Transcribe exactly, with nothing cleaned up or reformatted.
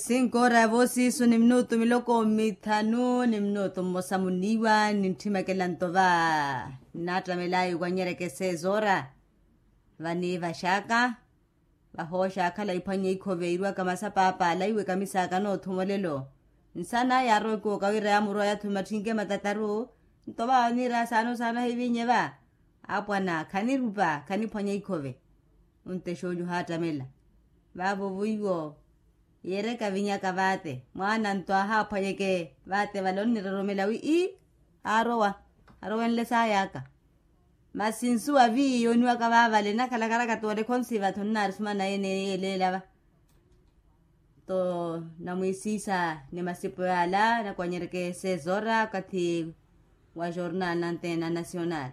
Sinkoora ya voosiisu ni minutu miloko mithanu ni minutu mmosa muniiwa nintthimekela nto va. Nnaattamela ayi kwanyereke seezoora. Vaniivaxaka vahooxa akhala iphwanya ikhove iirwaka masapaapa alaiwe kamisaaka noothumolelo. Nsanaya yaarowa ekiwoka wira yaamurowa yaathume atthinke matataru. Nto va oniira saana osaana hivinye va. Apwana khanirupa khaniphwanya ikhove. Ontexa onyu ohaattamela. Vaavo vuiwo yeereka vinyaka vaate mwaana nto ahaaphwanyeke. Vaate vale onniroromela wi ii aarowa arowenle saayaka. Masi nsuwa vi yooniwaka vaavale nakhalakarakati wale khonsiva tho nnaari sumana yene yeeleela va. To namwiisiisa ni masipo yaala nakwanyereke seezoora okathi wa jornal nantena nasional.